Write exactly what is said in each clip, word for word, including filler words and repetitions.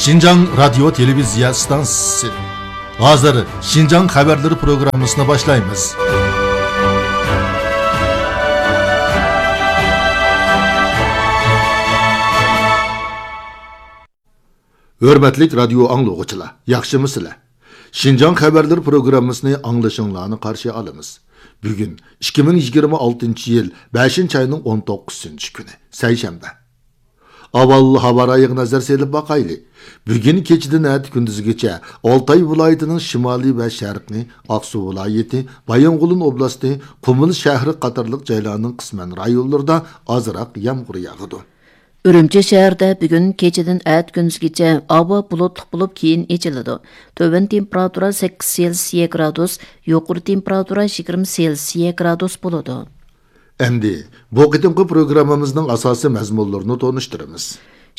شىنجاڭ رادىيو تېلېۋىزىيە ئىستانسىسى. ھازىر شىنجاڭ خەۋەرلىرى پروگراممىسىنى باشلايمىز. ھۆرمەتلىك رادىيو ئاڭلىغۇچىلار، ياخشىمۇسىلەر؟ شىنجاڭ خەۋەرلىرى پروگراممىسىنى ئاڭلىشىڭلارنى قارشى ئالىمىز. بۈگۈن ئىككى مىڭ يىگىرمە ئالتىنچى يىل بەشىنچى ئاينىڭ ئون توققۇزىنچى كۈنى، سەيشەنبە. ئاۋۋال ھاۋا رايىغا نەزەر سېلىپ باقايلى. بۈگۈن كېچىدىن ئەتە كۈندۈزگىچە ئالتاي ۋىلايىتىنىڭ شىمالىي ۋە شەرقىي، ئاقسۇ ۋىلايىتى، بايىنغولىن ئوبلاستى، قۇمۇل شەھىرى قاتارلىق جايلارنىڭ قىسمەن رايونلىرىدا ئازراق يامغۇر ياغىدۇ. ئۈرۈمچى شەھىرىدە بۈگۈن كېچىدىن ئەتە كۈندۈزگىچە ھاۋا بۇلۇتلۇق بولۇپ، كېيىن ئېچىلىدۇ. تۆۋەن تېمپېراتۇرا سەككىز سېلسىيە گرادۇس، يۇقىرى تېمپېراتۇرا يىگىرمە سېلسىيە گرادۇس بولىدۇ. ئەمدى بۇ قېتىمقى پروگراممىمىزنىڭ ئاساسىي مەزمۇنلىرىنى تونۇشتۇرىمىز.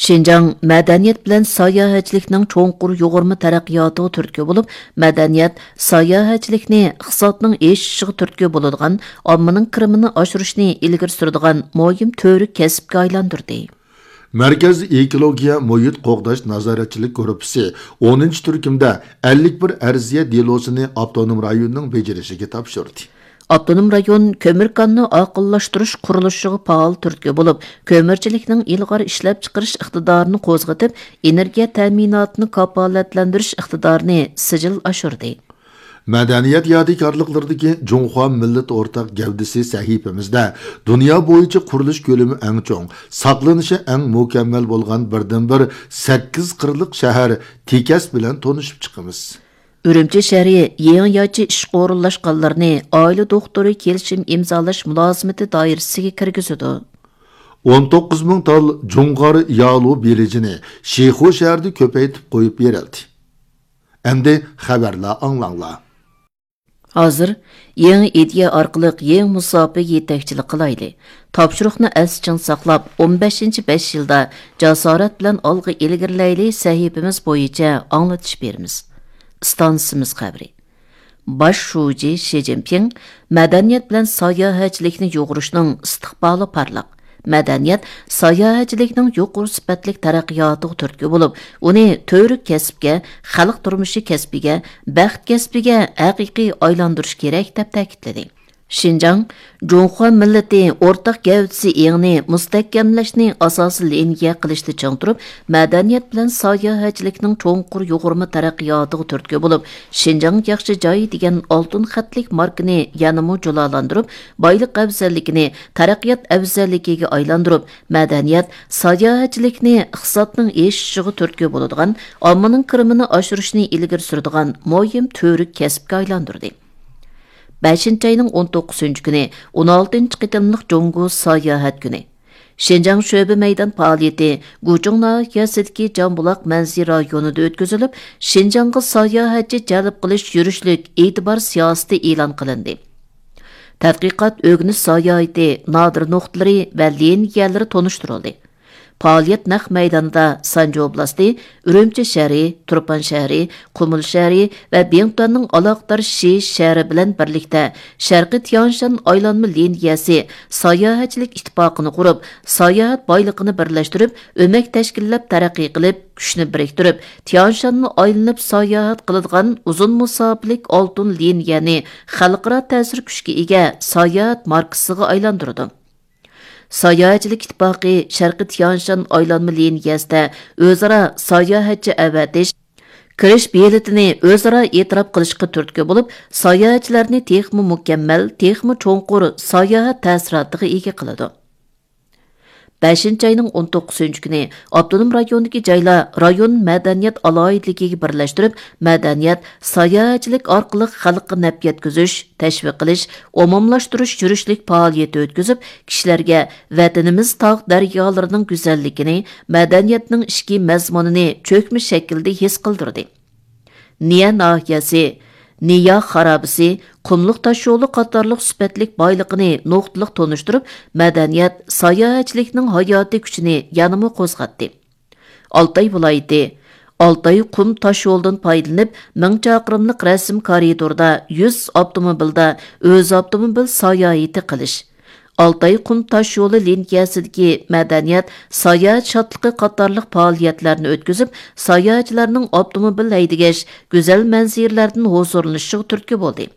شىنجاڭ مەدەنىيەت بىلەن ساياھەتچىلىكنىڭ چوڭقۇر يۇغۇرما تەرەققىياتىغا تۈرتكە بولۇپ، مەدەنىيەت ساياھەتچىلىكنى ئىقتىسادنىڭ ئېشىشىغا تۈرتكە بولىدىغان، ئاممىنىڭ كىرىمىنى ئاشۇرۇشنى ئىلگىرى سۈرىدىغان مۇھىم تۈۋرۈك كەسىپكە ئايلاندۇردى. مەركەز ئېكولوگىيە مۇھىت قوغداش نازارەتچىلىك گۇرۇپپىسى ئونىنچى تۈركۈمدە ئەللىك بىر ئەرزىيە دېلوسىنى ئاپتونوم رايوننىڭ بېجىرىشىگە تاپشۇردى. ئاپتونوم رايون كۆمۈر كاننى ئاقىللاشتۇرۇش قۇرۇلۇشىغا پائال تۈرتكە بولۇپ، كۆمۈرچىلىكنىڭ ئىلغار ئىشلەپچىقىرىش ئىقتىدارىنى قوزغىتىپ، ئېنېرگىيە تەمىناتىنى كاپالەتلەندۈرۈش ئىقتىدارىنى سىجىل ئاشۇردى. مەدەنىيەت يادىكارلىقلىرىدىكى جۇڭخۇا مىللىتى ئورتاق گەۋدىسى سەھىپىمىزدە دۇنيا بويىچە قۇرۇلۇش كۆلىمى ئەڭ چوڭ، ساقلىنىشى ئەڭ مۇكەممەل بولغان بىردىنبىر سەككىز قىرلىق شەھەر تېكەس بىلەن تونۇشۇپ چىقىمىز. ئۈرۈمچى شەھىرى يېڭىچە ئىشقا ئورۇنلاشقانلارنى ئائىلە دوختۇرى كېلىشىم ئىمزالاش مۇلازىمىتى دائىرىسىگە كىرگۈزىدۇ. ئون توققۇز مىڭ تال جۇڭغار يالۇ بېلىجىنى شىخۇ شەھىرىدە كۆپەيتىپ قويۇپ بېرىلدى. ئەمدى خەۋەرلەر ئاڭلاڭلار. ھازىر يېڭى ئىدىيە ئارقىلىق يېڭى مۇساپىگە يېتەكچىلىك قىلايلى. تاپشۇرۇقنى ئەستە چىڭ ساقلاپ، ئون بەشىنچى بەش يىلدا جاسارەت بىلەن ئالغا ئىلگىرىلەيلى سەھىپىمىز بويىچە ئاڭلىتىش بېرىمىز. ئىستانسىمىز خەۋىرى. باش شۇجى شى جىنپىڭ مەدەنىيەت بىلەن ساياھەتچىلىكنى يۇغۇرۇشنىڭ ئىستىقبالى پارلاق، مەدەنىيەت ساياھەتچىلىكنىڭ يۇقىرى سۈپەتلىك تەرەققىياتىغا تۈرتكە بولۇپ، ئۇنى تۈۋرۈك كەسىپكە، خەلق تۇرمۇشى كەسپىگە، بەخت كەسپىگە ھەقىقىي ئايلاندۇرۇش كېرەك، دەپ تەكىتلىدى. شىنجاڭ جۇڭخۇا مىللىتى ئورتاق گەۋدىسى ئېڭىنى مۇستەھكەملەشنى ئاساسىي لىنىيە قىلىشتا چىڭ تۇرۇپ، مەدەنىيەت بىلەن ساياھەتچىلىكنىڭ چوڭقۇر يۇغۇرما تەرەققىياتىغا تۈرتكە بولۇپ، شىنجاڭ ياخشى جاي دېگەن ئالتۇن خەتلىك ماركىنى يەنىمۇ جۇلالاندۇرۇپ، بايلىق ئەۋزەللىكىنى تەرەققىيات ئەۋزەللىكىگە ئايلاندۇرۇپ، مەدەنىيەت، ساياھەتچىلىكنى ئىقتىسادنىڭ ئېشىشىغا تۈرتكە بولىدىغان، ئاممىنىڭ كىرىمىنى ئاشۇرۇشنى ئىلگىرى سۈرىدىغان مۇھىم تۈۋرۈك كەسىپكە ئايلاندۇردى. بەشىنچى ئاينىڭ ئون توققۇزىنچى كۈنى، ئون ئالتىنچى قېتىملىق جۇڭگو ساياھەت كۈنى. شىنجاڭ شۆبە مەيدان پائالىيىتى گۇچۇڭ ناھىيەسىدىكى جامبۇلاق مەنزىرە رايونىدا ئۆتكۈزۈلۈپ، شىنجاڭغا ساياھەتچى جەلپ قىلىش يۈرۈشلۈك ئېتىبار سىياسىتى ئېلان قىلىندى. تەتقىقات، ئۆگىنىش ساياھىتى نادىر نۇقتىلىرى ۋە لىنىيەلىرى تونۇشتۇرۇلدى. پائالىيەت نەق مەيدانىدا سانجى ئوبلاستى، ئۈرۈمچى شەھىرى، تۇرپان شەھىرى، قۇمۇل شەھىرى ۋە بىڭتۈەننىڭ ئالاقىدار شى شەھىرى بىلەن بىرلىكتە شەرقىي تيانشان ئايلانما لىنىيەسى ساياھەتچىلىك ئىتتىپاقىنى قۇرۇپ، ساياھەت بايلىقىنى بىرلەشتۈرۈپ، ئۆمەك تەشكىللەپ تەرەققىي قىلىپ، كۈچنى بىرىكتۈرۈپ، تيانشاننى ئايلىنىپ ساياھەت قىلىدىغان ئۇزۇن مۇساپىلىك ئالتۇن لىنىيەنى خەلقئارا تەسىر كۈچكە ئىگە ساياھەت ماركىسىغا ئايلاندۇرىدۇ. ساياھەتچىلىك ئىتتىپاقى شەرقىي تيانشان ئايلانما لىنىيەسىدە ئۆزئارا ساياھەتچى ئەۋەتىش، كىرىش بېلىتىنى ئۆزئارا ئېتىراپ قىلىشقا تۈرتكە بولۇپ، ساياھەتچىلەرنى تېخىمۇ مۇكەممەل، تېخىمۇ چوڭقۇر ساياھەت تەسىراتىغا ئىگە قىلىدۇ. بەشىنچى ئاينىڭ ئون توققۇزىنچى كۈنى ئاپتونوم رايوندىكى جايلار رايون مەدەنىيەت ئالاھىدىلىكىگە بىرلەشتۈرۈپ، مەدەنىيەت، ساياھەتچىلىك ئارقىلىق خەلققە نەپ يەتكۈزۈش، تەشۋىق قىلىش، ئومۇملاشتۇرۇش يۈرۈشلۈك پائالىيىتى ئۆتكۈزۈپ، كىشىلەرگە ۋەتىنىمىز تاغ دەريالىرىنىڭ گۈزەللىكىنى، مەدەنىيەتنىڭ ئىچكى مەزمۇنىنى چۆكمە شەكىلدە ھېس قىلدۇردى. نىيە ناھىيەسى، نىيا خارابىسى، قۇملۇق تاشيولى قاتارلىق سۈپەتلىك بايلىقىنى نۇقتىلىق تونۇشتۇرۇپ، مەدەنىيەت، ساياھەتچىلىكنىڭ ھاياتىي كۈچىنى يەنىمۇ قوزغاتتى. ئالتاي ۋىلايىتى، ئالتاي قۇم تاشيولىدىن پايدىلىنىپ، مىڭ چاقىرىملىق رەسىم كارىدوردا يۈز ئاپتوموبىلدا ئۆز ئاپتوموبىل ساياھىتى قىلىش، ئالتاي قۇم تاش يولى لىنىيەسىدىكى مەدەنىيەت، ساياھەت شادلىقى قاتارلىق پائالىيەتلەرنى ئۆتكۈزۈپ، ساياھەتچىلەرنىڭ ئاپتوموبىل ھەيدىگەچ گۈزەل مەنزىرىلەردىن ھۇزۇرلىنىشىغا تۈرتكە بولدى.